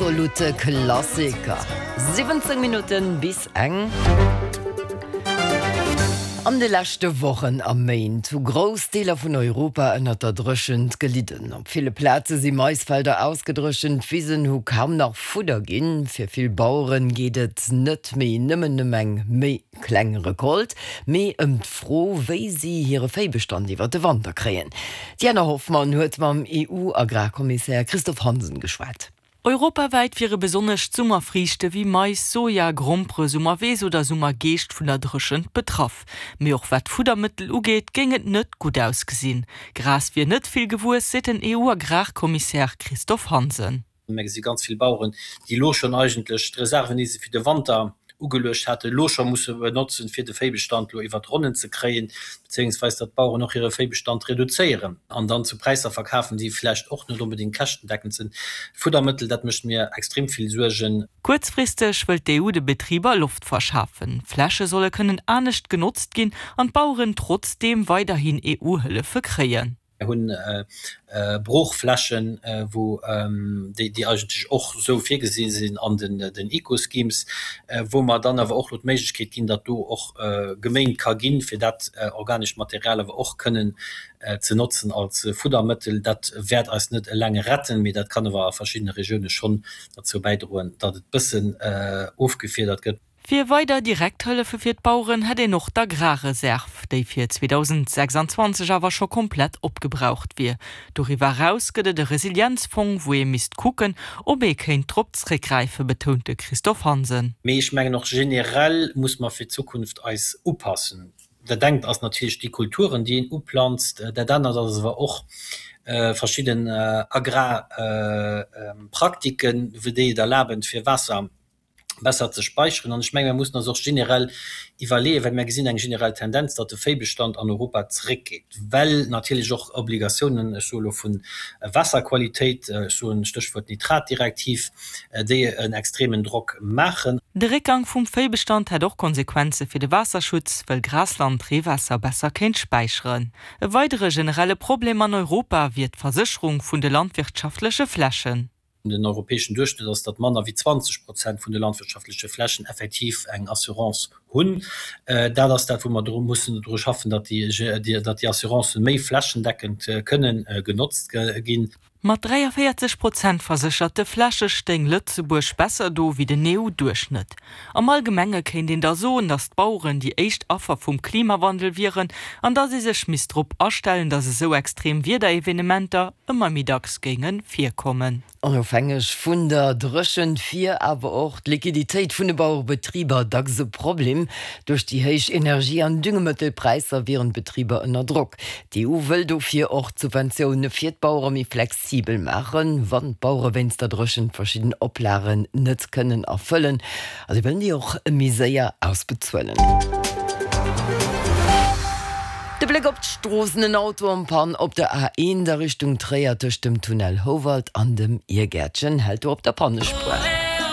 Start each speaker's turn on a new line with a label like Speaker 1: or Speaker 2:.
Speaker 1: Absolute Klassiker. 17 Minutten bis eng. An de leschte Wochen a Méint hu grouss Deeler vun Europa ënnert der Dréchent gelidden. Op ville Plaze si Maisfelder ausgedréchent, d'Wisen hu kaum nach Fudder ginn. Fir vill Baueren geet et net méi nëmmen ëm eng méi kleng Recolte, mee ëm d'Fro, wéi si hire Véibestand iwwer de Wanter kréien. D'Diana Hoffmann huet mam EU-Agrarkommissär Christophe Hansen geschwat.
Speaker 2: Europawäit wiere besonnesch d'Summerfriichte wéi Mais, Soja, Grompere, Summerweess oder Summergeescht vun der Dréchent betraff. Mee och wat d'Fuddermëttel ugeet, géing et net gutt ausgesinn. Gras wier net vill gewuess, seet den EU-Agrarkommissär Christophe Hansen.
Speaker 3: Mir gesi ganz vill Baueren, déi elo schonn eigentlech d'Reserven, déi se fir de Wanter ugeluecht haten, elo scho musse benotzen, fir de Véibestand elo iwwert d'Ronnen ze kréien, bezéiungsweis datt d'Baueren och hire Véibestand reduzéieren an dann zu Präisser verkafen, déi vläicht och net onbedéngt käschtendeckend sinn. Fuddermëttel, dat mécht mir extrem vill Suergen.
Speaker 2: Kuerzfristeg wëllt d'EU de Betriber Loft verschafen. Fläche solle kënnen anescht genotzt ginn an d'Baueren trotzdeem weiderhin EU-Hëllefe kréien.
Speaker 3: Mir hunn Broochflächen, wou déi eigentlech och esou virgesi sinn an den Eco-Schemes, wou mer dann awer och elo d'Méiglechkeet ginn, datt do och geméint ka ginn, fir dat organescht Material awer och kënnen ze notzen als Fuddermëttel. Dat wäert eis net eleng retten, mee dat kann awer a verschiddene Regioune schonn derzou bäidroen, datt et bëssen ofgefiedert gëtt.
Speaker 2: Fir weider Direkthëllefe fir d'Baueren hätt een och d'Agrarreserv, déi fir 2026 awer scho komplett opgebraucht wier. Doriwwer eraus gëtt et e Resilienzfong, wou ee misst kucken, ob ee kéint drop zréckgräifen, betount de Christophe Hansen.
Speaker 3: Mee ech mengen och generell muss mer fir d'Zukunft eis upassen. Dat engt ass natierlech déi Kulturen, déi een uplanzt, dat anert ass awer och verschidden Agrarpraktiken, déi et erlaben, fir Waasser besser ze speicheren. An ech menge mir mussen eis och generell iwwerleeën, well mir gesinn eng generell Tendenz, datt de Véibestand an Europa zeréckgeet, well natierlech och Obligatiounen, ech soe lo vu Waasserqualitéit, ech soen Stéchwuert Nitratdirektiv, déi en extremen Drock maachen.
Speaker 2: De Réckgang vum Véibestand hätt och Konsequenze fir de Waasserschutz, wëll Grasland Reewaasser besser kéint späicheren. E weidere generelle Problem an Europa wier d'Versécherung vun de landwirtschaftleche Flächen.
Speaker 3: Den europäeschen Duerchschnëtt ass, datt manner wéi 20 Prozent vun de landwirtschaftleche Flächen effektiv eng Assurance hunn. Dat ass dat, wou mer dru mussen dru schaffen, datt déi Assurancen méi flächendeckend kënnen genotzt ginn.
Speaker 2: Mat 43 Prozent versécherte Fläche stéing Lëtzebuerg besser do wéi den EU-Duerchschnëtt. Am Allgemenge kéint een da soen, datt d'Baueren déi éischt Affer vum Klimawandel wieren an datt ee sech misst drop astellen, datt esou extrem Wiederevenementer ëmmer méi dacks géinge virkommen.
Speaker 1: Onofhängeg vun der Dréchent wier awer och d'Liquiditéit vun de Bauerebetriber dacks e Problem. Duerch déi héich Energie an Düngemëttelpräisser wieren d'Betriber ënner Drock. D'EU wëll dofir och d'Subventioune fir d'Bauere méi flexibel maachen, wann d'Bauere wéinst der Dréchent verschidden Oplagen net kënnen erfëllen. A si wëllen déi och méi séier ausbezuelen. De Bléck op d'Stroossen, En Auto en Panne op der A1 a Richtung Tréier tëscht dem Tunnel Houwald an dem Irgäertchen hält do op der Pannespuer.